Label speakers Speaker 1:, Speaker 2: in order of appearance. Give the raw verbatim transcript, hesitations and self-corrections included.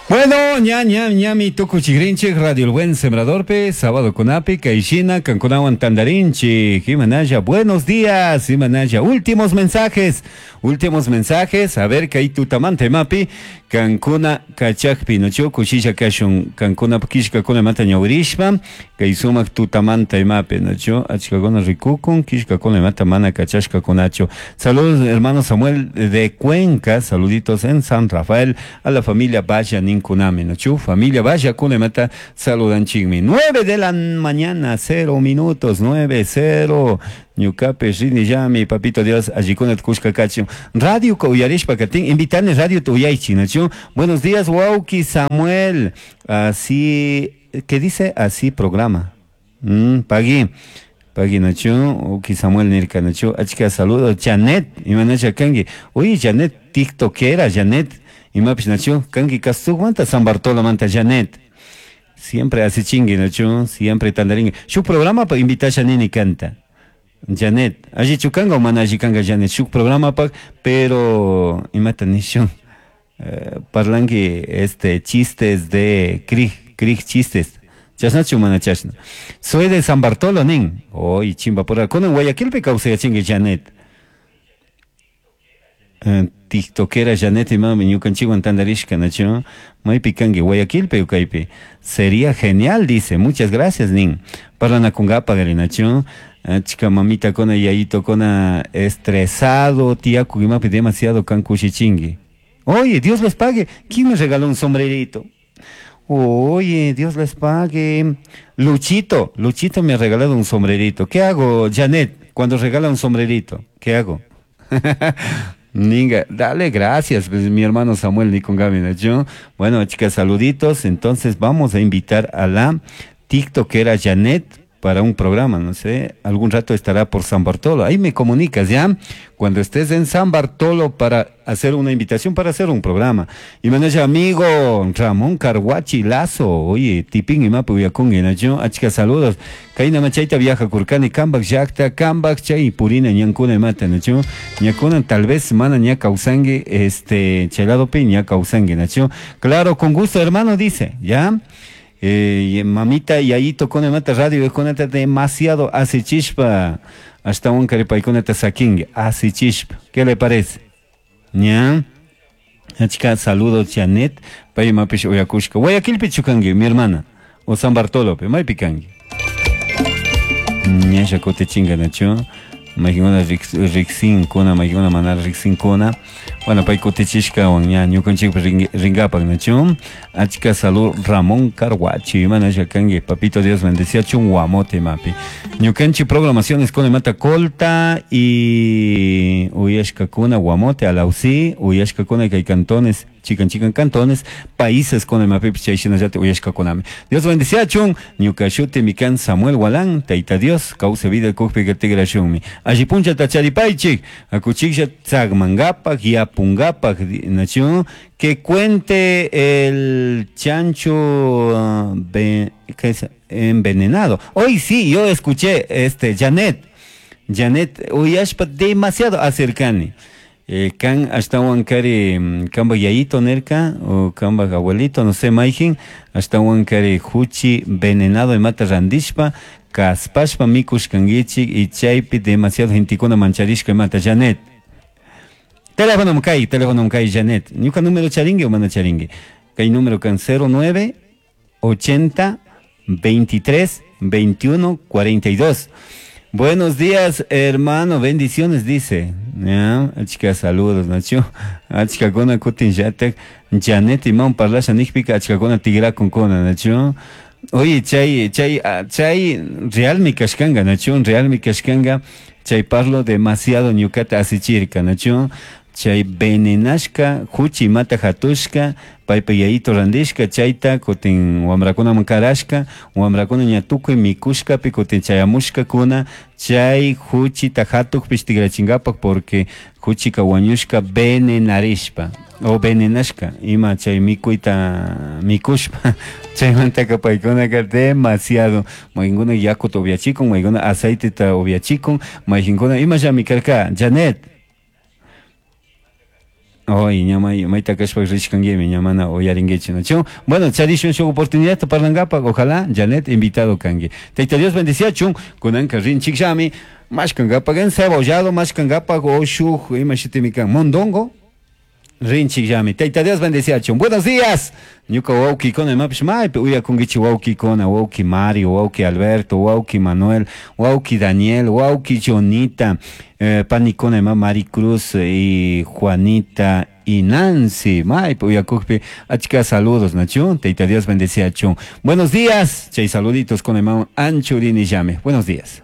Speaker 1: Bueno, ña ña ñami tukuchigrinchik Radio El Buen Sembradorpi, sábado kunapi, kayshina, kankunawan tandarinchik, imanalla, buenos días, imanalla, últimos mensajes, últimos mensajes, a ver, kay tutamanta imapi, kankuna kachakpi, nachu, kushilla kashun, kankuna kishkakuna mata ñawirishpa, kay sumak tutamanta imapi, nachu, achkakuna rikukun, kishkakuna imata mana kachashkakunachu. Saludos, hermano Samuel de Cuenca, saluditos en San Rafael, a la familia Valla Ninkunami, nachu, familia Valla Kunemata, saludan chigmi. Nueve de la mañana, cero minutos, nueve, cero. Ñukape rini llami, papito Dios, allikuna kushka kachun. Radio uyarishpa katin, invitane radio uyaychi, nachu. Buenos días, wawki Samuel. Así, ¿qué dice? Así programa. Mm, pagui. Pagui, nachu, wawki Samuel nirka, nachu. Achka saludos, Janet, imanacha kanki. Oye, Janet, tiktokera, Janet. Imapish, nachu, kanki manta San Bartolo manta Janet. Siempre hace chingue, nachu, siempre tandaringue. Shuk programa pa invitasha nini kanta. Janet, allichu kanga o mana alli kanga Janet, shuk programa pa, pero imata nishun. Eh, parlanki este chistes de krig, krig chistes. Chashnachu mana chashna. Soy de San Bartolo nin. Oy, chimba por kunan Guayaquilpi kawsayachinki Janet. Eh, tiktokera Janet imami ñukanchikwan tandarishka nachu. Maypi kanki Guayaquilpi o kaypi. Sería genial, dice. Muchas gracias, nin. Parlanakunkapa nachu. Achka mamita kona yayito kona estresado, tiyaku imapi demasiado kan kushichinki. Oye, Dios les pague. ¿Quién me regaló un sombrerito? Oye, Dios les pague. Luchito, Luchito me ha regalado un sombrerito. ¿Qué hago, Janet, cuando regala un sombrerito? ¿Qué hago? Ninga, dale gracias, pues, mi hermano Samuel Nikon Gaby, ¿no? Bueno, chicas, saluditos. Entonces vamos a invitar a la tiktokera Janet para un programa, no sé, algún rato estará por San Bartolo. Ahí me comunicas, ¿ya? Cuando estés en San Bartolo para hacer una invitación, para hacer un programa. Y me dice, amigo Ramón Carguachi Lazo, oye, tipín y mapu uyacungi, ¿no? Achka saludos. Kayna machayta viaja kurkani, kambak llakta, kambak chay purina ñankuna mata, ¿no? Ñakuna tal vez mana ña kawsangi, este, chelado pi ña kawsangi, ¿no? Claro, con gusto, hermano, dice, ¿ya? Eh, mamita yayito con mata radio con demasiado hace chispa hasta un caripay con saquingue hace chispa. ¿Qué le parece? ¿Ya? Chica, saludos Janet, pay mapish uyakushka. Guayaquilpi chukangi, mi hermana, o San Bartolo, pe maypi kanki. Ñasha kutichinga nachu. Maykuna riksinkuna, maykuna mana riksinkuna. Bueno, pay kutichishkawan ña ñukanchikpi rinkapak nachu. Achka salud Ramón Carguachi, mana kanki, papito Dios bendecía chun guamote mapi. Ñukanchik programaciones con mata colta y uyashkakuna guamote alausi, uyashkakuna kay cantones, chikan chikan cantones, países con el mapi chay shinallata uyashkakunami. Dios bendecía chun, ñuka shuti mikan Samuel Walán, taita Dios, kawsay vida kukpi tigrashunmi. Alli punchata charipaychik, akuchiklla tzagmangapak, yapungapak, nachu, que cuente el chancho uh, ¿qué es? Envenenado. Hoy sí, yo escuché, este, Janet, Janet, uyashpa demasiado acercani. Eh, kan ashtawan kari kamba yayito nerka o kamba abuelito, no sé, mayjin, ashtawan kari huchi venenado imata randishpa, kaspashpa mikushkankichik y chaypi demasiado gentikuna mancharishka imata, Janet. Teléfono kay, teléfono kay, Janet. Ñuka número charingi o mana charingi. Kay número kan cero nueve ochenta veintitrés veintiuno cuarenta y dos. Buenos días, hermano, bendiciones, dice. Ya, chica, saludos, Nacho. Achka kona kutin yatek, Janet imam parlasha nikpika, achka kona tigra con kona, Nacho. Oye, chay, chay, chay, real mi kashkanga, Nacho, real mi kashkanga, chay parlo demasiado ñukata asichirka, Nacho. Chay venenashka, huchi mata hatushka, paypa yayito randishka, chayta kutin wamrakunaman karashka, wamrakuna ña tukuy mikushkapi kutin chayamushkakuna, chay huchita hatukpish tigrachinkapak porque huchika wañushka venenarishpa o venenashka, ima chay mikuyta mikushpa, chaymantaka paykunaka demasiado, mayqinkuna yakuta upiachikun, mayqinkuna aceiteta upiachikun, mayqinkuna imallami karka, Janet. Oy, ña may mayta kashpa rishkanguimi, ña mana uyaringuichi, nachu? Bueno, charishun shuk oportunidad parlankapaq, ojalá Janet invitado kanki. Tayta Dios bendiciachun, kunanka rinchikllami, mashkankapaq encebollado, mashkankapaq o shuk ima shutimi kan, mondongo, rinchikllami. Tayta Dios bendiciachun. Buenos días. Ñuka wawkikuna imapish maypi uyakunkichik wawkikuna, wawki Mario, wawki Alberto, wawki Manuel, wawki Daniel, wawki Jonita, eh, panikuna ima Maricruz y Juanita y Nancy. Maypi uyakukpi achka saludos, nachu. Tayta Dios bendiciachun. Buenos días. Chay saluditos con ima anchurinillami. Buenos días.